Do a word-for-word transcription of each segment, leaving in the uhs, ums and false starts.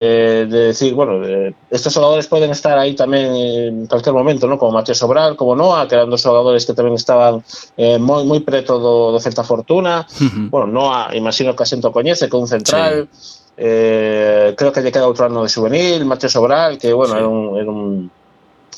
eh, de decir, bueno, eh, estos xogadores poden estar aí tamén en cualquier momento, ¿no? Como Mateo Sobral, como Noah, que eran dos xogadores que tamén estaban eh, moi moi preto do, do Celta Fortuna. Uh-huh. Bueno, Noah, imagino que a xente o coñece, que é un central. Sí. Eh, creo que lle queda outro ano de juvenil. Mateo Sobral, que, bueno, Sí. era un... Era un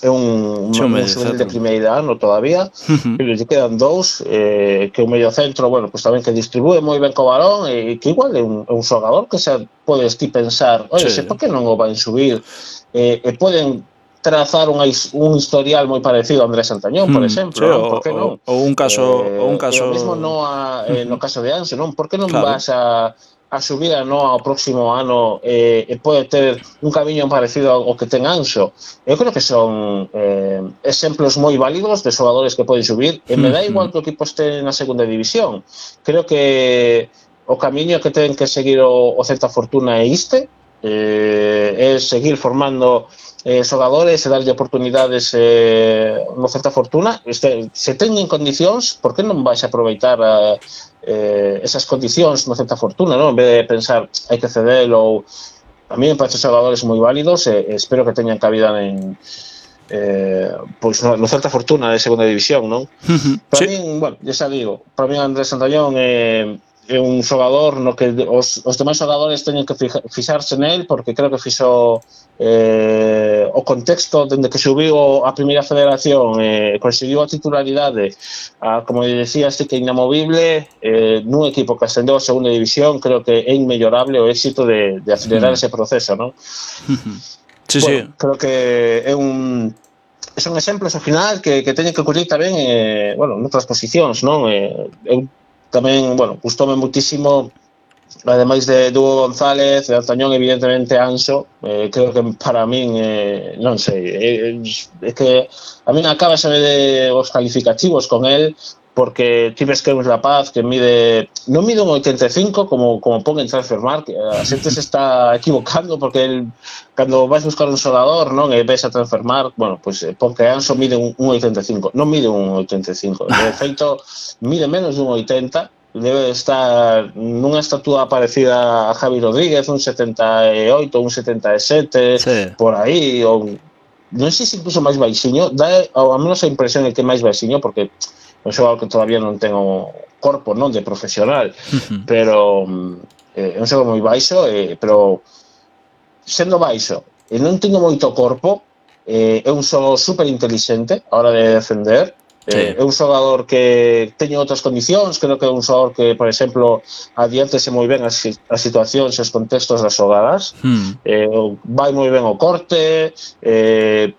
é un, sí, un, un un juvenil de centro. primeira ano todavía, uh-huh. pero lle quedan dous, eh, que o medio centro, bueno, pues tamén que distribúe moi ben co balón, e que igual é un, un xogador que xa podes ti pensar, oye, Sí. por que non o van subir, eh, e poden trazar un, un historial moi parecido a Andrés Santañón, por exemplo, sí, non? o, Por que non? O, o un caso, Eh, o un caso... E o mesmo no, a, eh, no caso de Anso, non? Por que non claro. vas a a subir a Noa ao próximo ano eh, e pode ter un camiño parecido ao que ten Anxo? Eu creo que son eh, exemplos moi válidos de xogadores que poden subir, e me dá igual que o equipo este na segunda división. Creo que o camiño que ten que seguir o, o Celta Fortuna é este, eh, é seguir formando eh, xogadores e darlle oportunidades eh, no Celta Fortuna. Este, se teñen condicións, por que non vais a aproveitar a Eh, esas condicións no Celta Fortuna, non? En vez de pensar hai que ceder, ou a mí me parece xogadores moi válidos, e, e espero que teñan cabida en eh, pois no, no Celta Fortuna de segunda división, non? Uh-huh. Para sí. min, bueno, xa digo, para min Andrés Santañón é, é un xogador no que os, os demais xogadores teñen que fija, fixarse nel, porque creo que fixo eh, o contexto dende que subiu a primeira federación, eh, conseguiu a titularidade, a, como decía, este que é inamovible, eh, nun equipo que ascendeu a segunda división. Creo que é inmellorable o éxito de, de acelerar uh-huh. ese proceso, non? Uh-huh. Sí, bueno, sí. Creo que é un son exemplos ao final que, que teñen que ocurrir tamén eh, bueno, noutras posicións, non? Eh, eu tamén, bueno, gustoume muitísimo, ademais de Hugo González, de Antañón, evidentemente Anxo. Eh, creo que para min, eh, non sei, é, é que a min acaba xa de os calificativos con el, porque ti ves que é un rapaz que mide, non mide un oitenta e cinco como, como pon en Transfermarkt. A xente se está equivocando, porque el, cando vais buscar un xogador, non, e ves a Transfermarkt, bueno, pues pon que Anxo mide un, un oitenta e cinco. Non mide un oitenta e cinco, de feito mide menos de un oitenta. Debe estar nunha estatua parecida a Javi Rodríguez, un setenta e oito, un setenta e sete, sí. por aí, ou non sei se incluso máis baixiño. Dá ao menos a impresión de que é máis baixiño, porque é un xogador que todavía non ten o corpo, non, de profesional, uh-huh. pero eh, é un xogador moi baixo, eh, pero sendo baixo e non teño moito corpo, eh, é un xogador super inteligente a hora de defender. Sí. Eh, é un xogador que teñe outras condicións. Creo que é un xogador que, por exemplo, adiántese moi ben as, as situacións e os contextos das xogadas. Hmm. Eh, vai moi ben o corte, eh,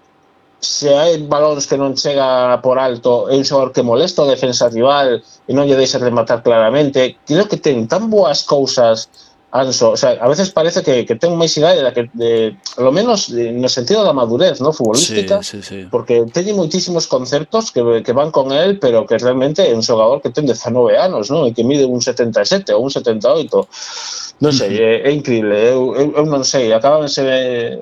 se hai balóns que non chega por alto, é un xogador que molesta o defensa rival e non lle deixa rematar claramente. Creo que ten tan boas cousas Anso, o sea, a veces parece que, que ten máis idade da que, de, lo menos de, no sentido da madurez, ¿no? Futbolística, sí, sí, sí. porque teñe moitísimos conceptos que, que van con él, pero que realmente é un xogador que ten dezanove anos, ¿no? E que mide un setenta e sete ou un setenta e oito. Non sei, é, é increíble. Eu, eu, eu non sei, acabanse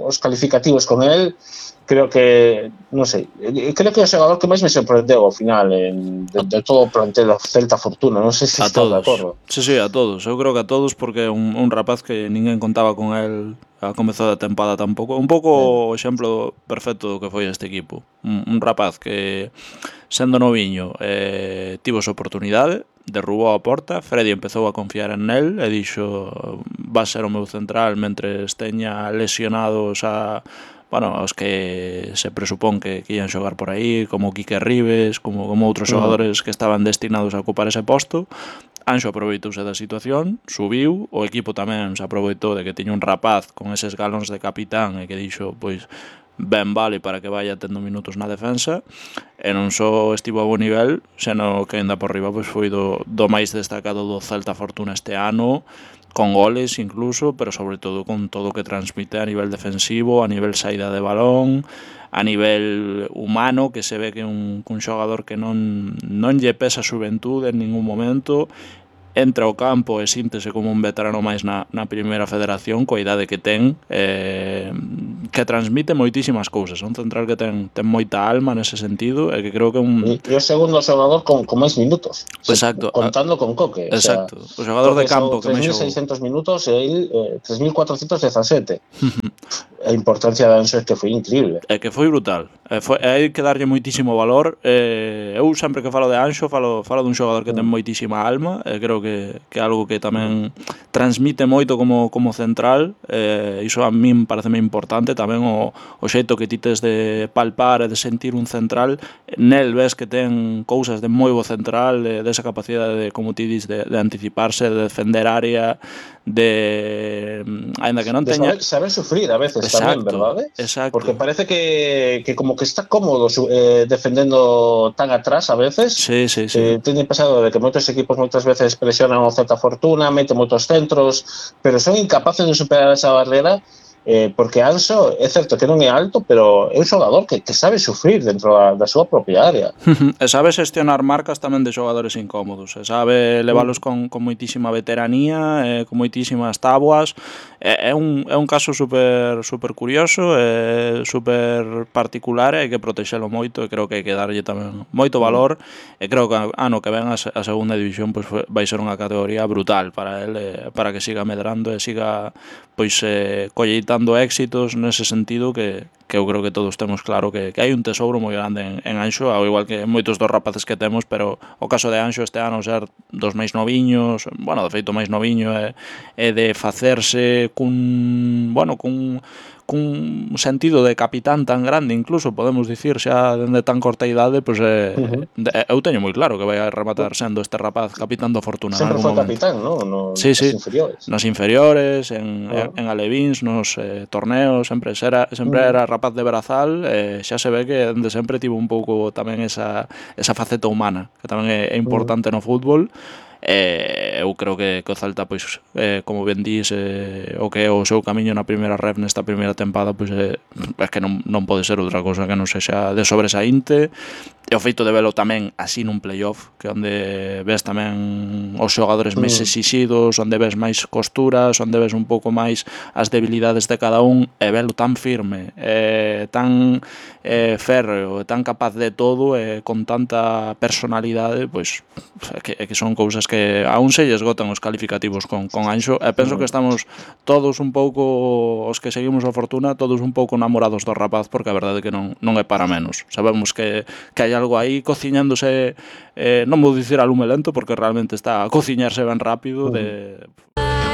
os calificativos con él. Creo que, non sei, creo que é o xogador que máis me sorprendeu ao final en, de, de todo o plantel do Celta Fortuna. Non sei se a estás todos. de acordo. Sí, sí, a todos. Eu creo que a todos, porque é un, un rapaz que ninguén contaba con él a comezar da tempada tampouco. Un pouco o exemplo perfecto do que foi este equipo. Un, un rapaz que, sendo noviño, eh, tivo esa oportunidade, derrubou a porta, Freddy empezou a confiar en él e dixo, va a ser o meu central mentres teña lesionados a... bueno, os que se presupón que, que ian xogar por aí, como Quique Ribes, como, como outros xogadores que estaban destinados a ocupar ese posto. Anxo aproveitouse da situación, subiu, o equipo tamén se aproveitou de que tiña un rapaz con eses galóns de capitán e que dixo, pois, ben vale para que vaya tendo minutos na defensa, e non só estivo a bo nivel, senón que ainda por riba pois foi do, do máis destacado do Celta Fortuna este ano, con goles incluso, pero sobre todo con todo o que transmite a nivel defensivo, a nivel saída de balón, a nivel humano, que se ve que é un, un xogador que non, non lle pesa a xuventude en ningún momento, entra ao campo e síntese como un veterano máis na, na primeira federación, coa idade que ten, eh, que transmite moitísimas cousas, un central que ten, ten moita alma nese sentido e que creo que é un... E o segundo xogador con, con máis minutos. Exacto. Contando con Coque. Exacto. O, sea, o xogador Coque de campo que tres máis mil xogou. seiscentos minutos e el eh, tres mil cuatrocientos dezasete. A importancia de Anxo é que foi increíble. É que foi brutal. É, foi, hai que darlle moitísimo valor. Eh, eu sempre que falo de Anxo falo, falo dun xogador que ten moitísima alma e creo que, que é algo que tamén transmite moito como, como central. Eh, iso a min pareceme importante tamén o, o xeito que ti tes de palpar e de sentir un central. Nel ves que ten cousas de moi bo central, de, de esa capacidade de, como ti dis, de, de anticiparse, de defender área, de aínda que non de teña saber, saber sufrir a veces. Exacto, tamén, verdade? Exacto. Porque parece que, que como que está cómodo eh, defendendo tan atrás a veces. Sí, sí, sí. Eh, teño pasado de que moitos equipos moitas veces presionan o certa fortuna, meten moitos centros, pero son incapaces de superar esa barrera. Eh, porque Anxo é certo que non é alto, pero é un xogador que, que sabe sufrir dentro da, da súa propia área. E sabe xestionar marcas tamén de xogadores incómodos, e sabe leválos con, con moitísima veteranía, eh, con moitísimas tabuas. É, é, un, é un caso super, super curioso, é super particular, e hai que protexelo moito, e creo que hai que darlle tamén moito valor, e creo que ano que ven a, a segunda división pois, vai ser unha categoría brutal para el, eh, para que siga medrando e siga pois eh, colleitando éxitos nese sentido que, que eu creo que todos temos claro que, que hai un tesouro moi grande en, en Anxo, ao igual que moitos dos rapaces que temos, pero o caso de Anxo este ano ser dos máis noviños, bueno, de feito máis noviño é, é de facerse cun, bueno, cun cun sentido de capitán tan grande, incluso podemos dicir xa dende tan corta idade, pois eh, uh-huh. eu teño moi claro que vai a rematar sendo este rapaz capitán do Fortuna. Sempre foi capitán, ¿no? No, sí, sí, inferiores. Nos inferiores, en, uh-huh. en, en alevins, nos eh, torneos, sempre era, sempre uh-huh. era rapaz de Berazal, eh, xa se ve que dende sempre tivo un pouco tamén esa, esa faceta humana, que tamén é, é importante uh-huh. no fútbol. Eh, eu creo que, que o Celta, pois, eh, como ben dís, eh, o que é o seu camiño na primeira ref nesta primeira tempada, pois eh, é que non, non pode ser outra cousa que non sexa de sobresaínte. E o feito de velo tamén así nun playoff, que onde ves tamén os xogadores máis exixidos, onde ves máis costuras, onde ves un pouco máis as debilidades de cada un, e velo tan firme, eh, tan eh, férreo, tan capaz de todo, e eh, con tanta personalidade, pois é que, é que son cousas que aún se lle esgotan os calificativos con, con Anxo, e penso que estamos todos un pouco, os que seguimos a Fortuna, todos un pouco namorados do rapaz, porque a verdade é que non, non é para menos. Sabemos que, que hai algo aí cociñándose, eh, non vou dicir a lume lento, porque realmente está a cociñarse ben rápido, de